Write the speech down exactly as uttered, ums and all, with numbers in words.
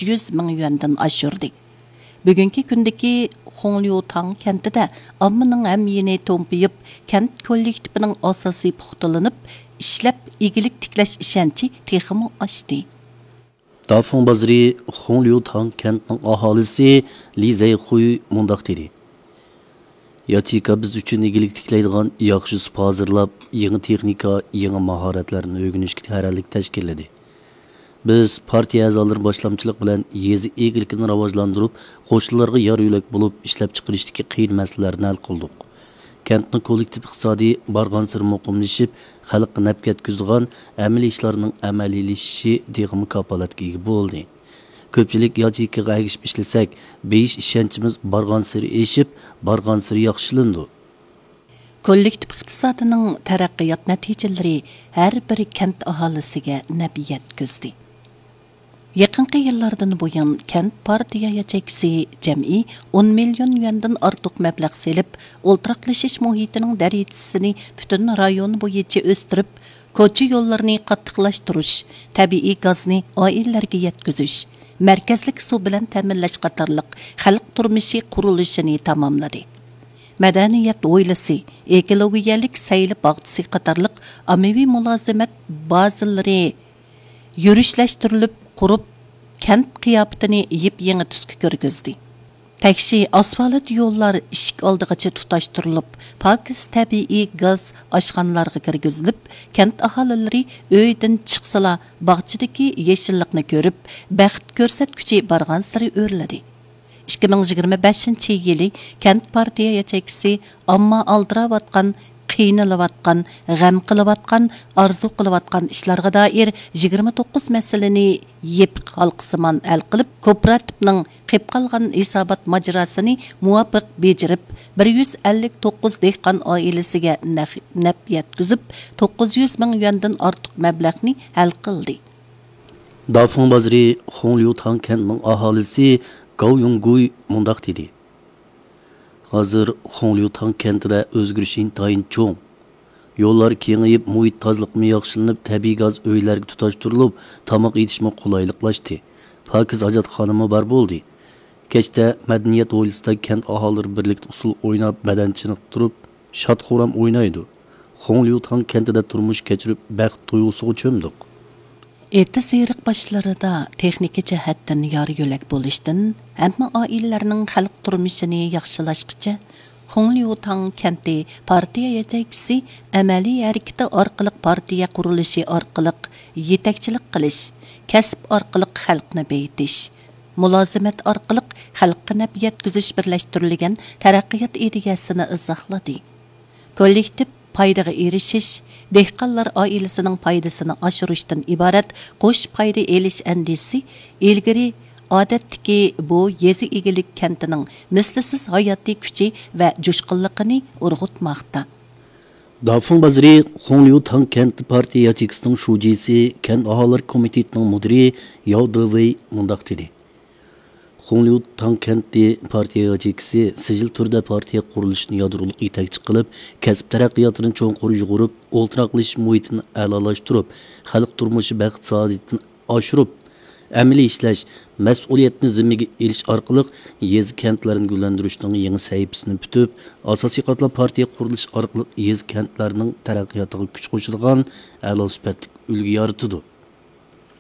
يۈز مىڭ يۈەندىن ئاشۇردى. بۈگۈنكى كۈندىكى خۇڭليۇتاڭ كەنتىدە ئاممىنىڭ ئەمىيىنى تومپىيىپ، كەنت كوللېكتىپىنىڭ ئاساسى پۇختىلىنىپ، ئىشلەپ ئىگىلىك تىكلەش ئىشەنچى تېخىمۇ ئاشتى. دافۇڭ بازىرى خۇڭليۇتاڭ كەنتىنىڭ ئاھالىسى لى زەيخۇي مۇنداق دېدى: ياچېيكا بىز ئۈچۈن ئىگىلىك تىكلەيدىغان ياخشى سۇپا ھازىرلاپ، يېڭى تېخنىكا، يېڭى ماھارەتلەرنى ئۆگىنىشكە تەييارلىق تەشكىللىدى. بىز پارتىيە ئەزالىرى باشلامچىلىقى بىلەن يېزا ئىگىلىكىنى راۋاجلاندۇرۇپ، قوشنىلارغا يار يۆلەك بولۇپ، ئىشلەپچىقىرىشتىكى قىيىن مەسىلىلەرنى ھەل قىلدۇق. كەنتنىڭ كوللېكتىپ ئىقتىسادى بارغانسېرى مۇقىملىشىپ، خەلققە نەپ يەتكۈزىدىغان ئەمەلىي ئىشلارنىڭ ئەمەلىيلىشىشى تېخىمۇ كاپالەتكە ئىگە بولدى. كۆپچىلىك ياچېيكىغا ئەگىشىپ ئىشلىسەك، بېيىش ئىشەنچىمىز بارغانسېرى ئېشىپ، بارغانسېرى ياخشىلىنىدۇ. كوللېكتىپ ئىقتىسادىنىڭ تەرەققىيات نەتىجىلىرى ھەر بىر كەنت ئاھالىسىگە نەپ يەتكۈزدى. يېقىنقى يىللاردىن بۇيان، كەنت پارتىيە ياچېيكىسى جەمئىي ئون مىليون يۈەندىن ئارتۇق مەبلەغ سېلىپ، ئولتۇراقلىشىش مۇھىتىنىڭ دەرىجىسىنى پۈتۈن رايون بويىچە ئۆستۈرۈپ، كوچا يوللىرىنى قاتتىقلاشتۇرۇش، تەبىئىي گازنى ئائىلىلەرگە يەتكۈزۈش، مەركەزلىك سۇ بىلەن تەمىنلەش قاتارلىق خەلق تۇرمۇشى قۇرۇلۇشىنى تاماملىدى. مەدەنىيەت ھويلىسى، ئېكولوگىيەلىك سەيلە باغچىسى قاتارلىق ئاممىۋى مۇلازىمەت بازىلىرى يۈرۈشلەشتۈرۈلۈپ قۇرۇپ، كەنت قىياپىتىنى يېپيېڭى تۈسكە كىرگۈزدى. تەكشى ئاسفالت يوللار ئىشىك ئالدىغىچە تۇتاشتۇرۇلۇپ، پاكىز تەبىئىي گاز ئاشخانىلارغا كىرگۈزۈلۈپ، كەنت ئاھالىلىرى ئۆيدىن چىقسىلا، باغچىدىكى يېشىللىقنى كۆرۈپ، بەخت كۆرسەتكۈچى بارغانسېرى ئۆرلىدى. ئىككى مىڭ يىگىرمە بەشىنچى يىلى كەنت پارتىيە ياچېيكىسى ئامما ئالدىراۋاتقان، قىينىلىۋاتقان، غەم قىلىۋاتقان، ئارزۇ قىلىۋاتقان ئىشلارغا دائىر يىگىرمە توققۇز مەسىلىنى يېپىق ھالقىسىمان ھەل قىلىپ، كوپىراتىپنىڭ قېلىپ قالغان ھېسابات ماجىراسىنى مۇۋاپىق بېجىرىپ، بىر يۈز ئەللىك توققۇز دېھقان ئائىلىسىگە نەق-، نەپ يەتكۈزۈپ، توققۇز يۈز مىڭ يۈەندىن ئارتۇق مەبلەغنى ھەل قىلدى. دافۇڭ بازىرى خۇڭليۇتاڭ كەنتىنىڭ ئاھالىسى گاۋ يۇڭگۇي مۇنداق دېدى: ھازىر خۇڭليۇتاڭ كەنتىدە ئۆزگىرىش ئىنتايىن چوڭ. يوللار كېڭىيىپ، مۇھىت تازىلىقىمۇ ياخشىلىنىپ، تەبىئىي گاز ئۆيلەرگە تۇتاشتۇرۇلۇپ، تاماق ئېتىشمۇ قولايلىقلاشتى. پاكىز ھاجەتخانىمۇ بار بولدى. كەچتە مەدەنىيەت ھويلىسىدا كەنت ئاھالىلىرى بىرلىكتە ئۇسسۇل ئويناپ، بەدەن چېنىقتۇرۇپ، شاد-خۇرام ئوينايدۇ. خۇڭليۇتاڭ كەنتىدە تۇرمۇش كەچۈرۈپ، بەخت تۇيغۇسىغا چۆمدۇق. ئېتىز-ئېرىق باشلىرىدا تېخنىكا جەھەتتىن يار-يۆلەك بولۇشتىن ھەممە ئائىلىلەرنىڭ خەلق تۇرمۇشىنى ياخشىلاشقىچە، خۇڭليۇتاڭ كەنتى پارتىيە ياچېيكىسى ئەمەلىي ھەرىكىتى ئارقىلىق پارتىيە قۇرۇلۇشى ئارقىلىق يېتەكچىلىك قىلىش، كەسىپ ئارقىلىق خەلقنى بېيىتىش، مۇلازىمەت ئارقىلىق خەلققە نەپ يەتكۈزۈش بىرلەشتۈرۈلگەن تەرەققىيات ئىدىيەسىنى ئىزاھلىدى. كوللېكتىپ پايدىغا ئېرىشىش، دېھقانلار ئائىلىسىنىڭ پايدىسىنى ئاشۇرۇشتىن ئىبارەت قوش پايدا ئېلىش ئەندىزىسى ئىلگىرى ئادەتتىكى بۇ يېزا ئىگىلىك كەنتىنىڭ مىسلىسىز ھاياتىي كۈچى ۋە جۇشقۇنلۇقىنى ئۇرغۇتماقتا. دافۇڭ بازىرى خۇڭليۇتاڭ كەنتى پارتىيە ياچېيكىسىنىڭ شۇجىسى، كەنت ئاھالىلەر كومىتېتىنىڭ مۇدىرى ياۋ دېۋېي مۇنداق دېدى: خۇڭليۇتاڭ كەنتى پارتىيە ياچېيكىسى سىجىل تۈردە پارتىيە قۇرۇلۇشىنى يادرولۇق يېتەكچى قىلىپ، كەسىپ تەرەققىياتىنى چوڭقۇر يۇغۇرۇپ، ئولتۇراقلىشىش مۇھىتىنى ئەلالاشتۇرۇپ، خەلق تۇرمۇشى بەخت-سائادىتىنى ئاشۇرۇپ، ئەمەلىي ئىشلەش، مەسئۇلىيەتنى زىممىگە ئېلىش ئارقىلىق يېزا-كەنتلەرنى گۈللەندۈرۈشنىڭ يېڭى سەھىپىسىنى پۈتۈپ، ئاساسىي قاتلام پارتىيە قۇرۇلۇشى ئارقىلىق يېزا-كەنتلەرنىڭ تەرەققىياتىغا كۈچ قوشىدىغان ئەلا سۈپەتلىك ئۈلگە يارىتىدۇ.